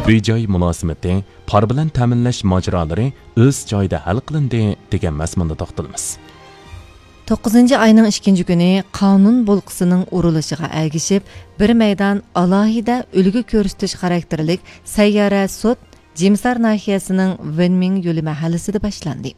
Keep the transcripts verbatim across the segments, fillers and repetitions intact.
ئۆي-جاي مۇلازىمىتى، پار بىلەن تەمىنلەش ماجىرالىرى ئۆز جايىدا ھەل قىلىندى دېگەن مەزمۇندا توختىلىمىز. توققۇزىنچى ئاينىڭ ئىككىنچى كۈنى قانۇن بولقىسىنىڭ ئۇرۇلۇشىغا ئەگىشىپ، بىر مەيدان ئالاھىدە ئۈلگە كۆرسىتىش خاراكتېرلىك سەييارە سوت جىمسار ناھىيەسىنىڭ ۋېنمىڭ يولى مەھەللىسىدە باشلاندى.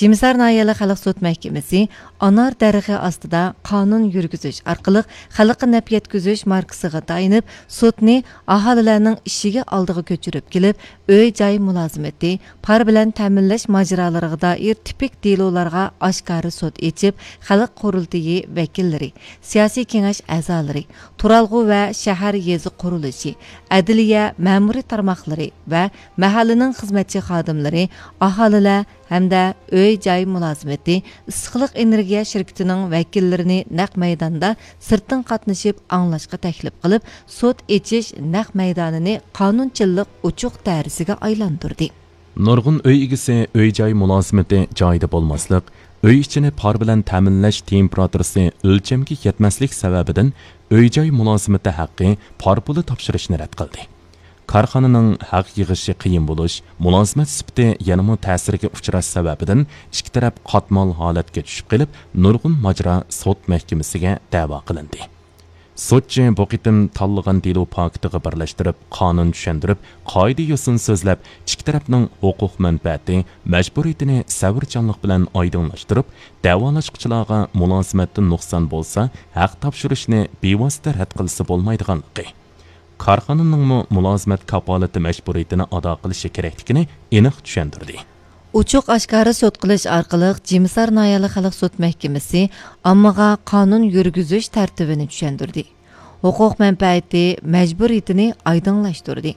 جىمسار ناھىيەلىك خەلق سوت مەھكىمىسى ئانار دەرىخى ئاستىدا قانۇن يۈرگۈزۈش ئارقىلىق خەلققە نەپ يەتكۈزۈش ماركىسىغا تايىنىپ، سوتنى ئاھالىلەرنىڭ ئىشىكى ئالدىغا كۆچۈرۈپ كېلىپ، ئۆي-جاي مۇلازىمىتى، پار بىلەن تەمىنلەش ماجىرالىرىغا دائىر تىپىك دېلولارغا ئاشكارا سوت ئېچىپ، خەلق قۇرۇلتىيى ۋەكىللىرى، سىياسىي كېڭەش ئەزالىرى، تۇرالغۇ ۋە شەھەر يېزا قۇرۇلۇشى، ئەدلىيە، مەمۇرىي تارماقلىرى ۋە مەھەللىنىڭ خىزمەتچى خادىملىرى، ئاھالىلەر، ھەمدە ئۆي-جاي مۇلازىمىتى، ئىسسىقلىق ئېنېرگىيە شىركىتىنىڭ ۋەكىللىرىنى نەق مەيداندا سىرتتىن قاتنىشىپ ئاڭلاشقا تەكلىپ قىلىپ، سوت ئېچىش نەق مەيدانىنى قانۇنچىللىق ئوچۇق دائىرىسىگە ئايلاندۇردى. نۇرغۇن ئۆي ئىگىسى ئۆي-جاي مۇلازىمىتى جايىدا بولماسلىق، ئۆي ئىچىنى پار بىلەن تەمىنلەش تېمپېراتۇرىسى ئۆلچەمگە يەتمەسلىك سەۋەبىدىن ئۆي-جاي مۇلازىمىتى ھەققى پار پۇلى تاپشۇرۇشنى رەت قىلدى. كارخانىنىڭ ھەق يىغىشى قىيىن بولۇش، مۇلازىمەت سۈپىتى يەنىمۇ تەسىرگە ئۇچراش سەۋەبىدىن ئىككى تەرەپ قاتمال ھالەتكە چۈشۈپ قېلىپ، نۇرغۇن ماجىرا سوت مەھكىمىسىگە دەۋا قىلىندى. سوتچى بۇ قېتىم تاللىغان دېلو پاكىتىغا بىرلەشتۈرۈپ، قانۇن چۈشەندۈرۈپ، قائىدە-يوسۇن سۆزلەپ، ئىككى تەرەپنىڭ ھوقۇق مەنپەئەتى، مەجبۇرىيىتىنى سەۋرچانلىق بىلەن ئايدىڭلاشتۇرۇپ، دەۋالاشقۇچىلارغا مۇلازىمەتتە نۇقسان بولسا، ھەق تاپشۇرۇشنى بىۋاسىتە رەت قىلسا بولمايدىغانلىقى، كارخانىنىڭمۇ مۇلازىمەت كاپالىتى مەجبۇرىيىتىنى ئادا قىلىشى كېرەكلىكىنى ئېنىق چۈشەندۈردى. ئوچۇق ئاشكارا سوت قىلىش ئارقىلىق جىمسار ناھىيەلىك خەلق سوت مەھكىمىسى ئاممىغا قانۇن يۈرگۈزۈش تەرتىپىنى چۈشەندۈردى. ھوقۇق مەنپەئەتى، مەجبۇرىيىتىنى ئايدىڭلاشتۇردى.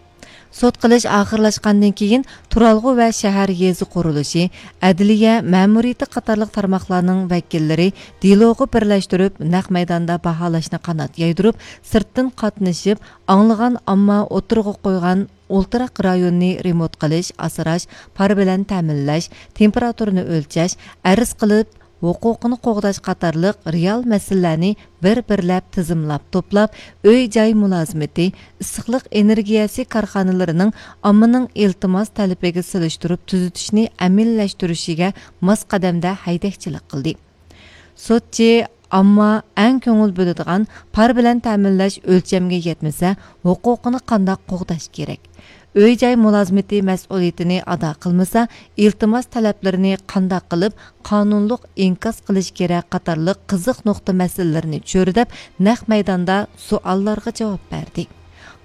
سوت قىلىش ئاخىرلاشقاندىن كېيىن، تۇرالغۇ ۋە شەھەر يېزا قۇرۇلۇشى، ئەدلىيە، مەمۇرىيىتى قاتارلىق تارماقلارنىڭ ۋەكىللىرى دېلوغا بىرلەشتۈرۈپ، نەق مەيداندا باھالاشنى قانات يايدۇرۇپ، سىرتتىن قاتنىشىپ، ئاڭلىغان ئامما ئوتتۇرىغا قويغان ئولتۇراق رايوننى رېمونت قىلىش، ئاسراش، پار بىلەن تەمىنلەش، تېمپېراتۇرىنى ئۆلچەش، ئەرز قىلىپ، ھوقۇقىنى قوغداش قاتارلىق رېئال مەسىلىلەرنى بىر-بىرلەپ تىزىملاپ توپلاپ، ئۆي-جاي مۇلازىمىتى، ئىسسىقلىق ئېنېرگىيەسى كارخانىلىرىنىڭ ئاممىنىڭ ئىلتىماس تەلىپىگە سېلىشتۇرۇپ تۈزىتىشنى ئەمەلىيلەشتۈرۈشىگە ماس قەدەمدە ھەيدەكچىلىك قىلدى. سوتچى ئامما ئەڭ كۆڭۈل بۆلىدىغان پار بىلەن تەمىنلەش ئۆلچەمگە يەتمىسە، ھوقۇقىنى قانداق قوغداش كېرەك؟ ئۆي-جاي مۇلازىمىتى مەسئۇلىيىتىنى ئادا قىلمىسا، ئىلتىماس تەلەپلىرىنى قانداق قىلىپ قانۇنلۇق ئىنكاس قىلىش كېرەك قاتارلىق قىزىق نۇقتا مەسىلىلىرىنى چۆرىدەپ، نەق مەيداندا سوئاللارغا جاۋاب بەردى.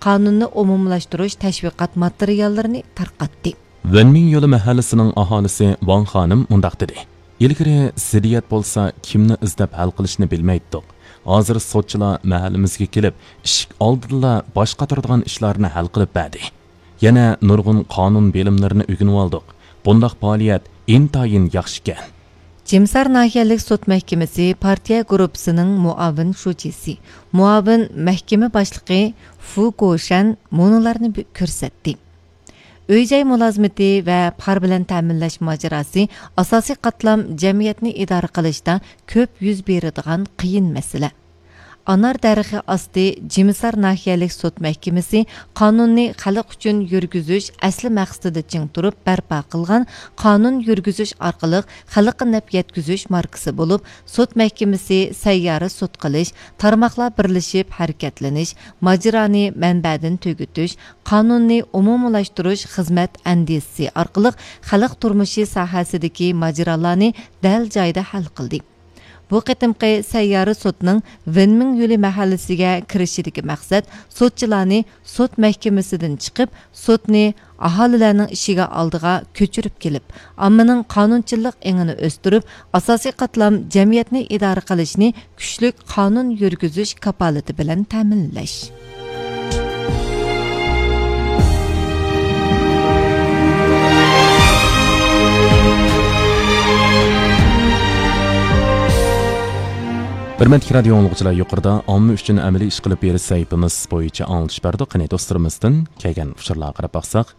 قانۇننى ئومۇملاشتۇرۇش تەشۋىقات ماتېرىياللىرىنى تارقاتتى. ۋېنمىڭ يولى مەھەللىسىنىڭ ئاھالىسى ۋاڭ خانىم مۇنداق دېدى: «ئىلگىرى زىددىيەت بولسا، كىمنى ئىزدەپ ھەل قىلىشنى بىلمەيتتۇق. ھازىر سوتچىلار مەھەللىمىزگە كېلىپ، ئىشىك ئالدىدىلا باش قاتۇرىدىغان ئىشلارنى ھەل قىلىپ بەردى. يەنە نۇرغۇن قانۇن بىلىملىرىنى ئۆگىنىۋالدۇق. بۇنداق پائالىيەت ئىنتايىن ياخشىكەن.» جىمسار ناھىيەلىك سوت مەھكىمىسى پارتىيە گۇرۇپپىسىنىڭ مۇئاۋىن شۇجىسى، مۇئاۋىن مەھكىمە باشلىقى فۇ گوشەن مۇنۇلارنى بى-، كۆرسەتتى. ئۆي-جاي مۇلازىمىتى ۋە پار بىلەن تەمىنلەش ماجىراسى ئاساسىي قاتلام جەمئىيەتنى ئىدارە قىلىشتا كۆپ يۈز بېرىدىغان قىيىن مەسىلە. ئانار دەرىخى ئاستى جىمىسار ناھىيەلىك سوت مەھكىمىسى قانۇننى خەلق ئۈچۈن يۈرگۈزۈش ئەسلى مەقسىتىدە چىڭ تۇرۇپ بەرپا قىلغان قانۇن يۈرگۈزۈش ئارقىلىق خەلققە نەپ يەتكۈزۈش ماركىسى بولۇپ، سوت مەھكىمىسى سەييارە سوت قىلىش، تارماقلار بىرلىشىپ ھەرىكەتلىنىش، ماجىرانى مەنبەدىن تۈگىتىش، قانۇننى ئومۇملاشتۇرۇش خىزمەت ئەندىزىسى ئارقىلىق خەلق تۇرمۇشى ساھەسىدىكى ماجىرالارنى دەل جايىدا ھەل قىلدى. بۇ قېتىمقى سەييارە سوتنىڭ ۋېنمىڭ يولى مەھەللىسىگە كىرىشىدىكى مەقسەت سوتچىلارنى سوت مەھكىمىسىدىن چىقىپ، سوتنى ئاھالىلەرنىڭ ئىشىكى ئالدىغا كۆچۈرۈپ كېلىپ، ئاممىنىڭ قانۇنچىللىق ئېڭىنى ئۆستۈرۈپ، ئاساسىي قاتلام جەمئىيەتنى ئىدارە قىلىشنى كۈچلۈك قانۇن يۈرگۈزۈش كاپالىتى بىلەن تەمىنلەش. ھۆرمەتلىك رادىيو ئاڭلىغۇچىلار، يۇقىرىدا ئامما ئۈچۈن ئەمەلىي ئىش قىلىپ بېرىش سەھىپىمىز بويىچە ئاڭلىتىش بەردۇق. قېنى، دوستلىرىمىزدىن كەلگەن ئۇچۇرلارغا قاراپ باقساق.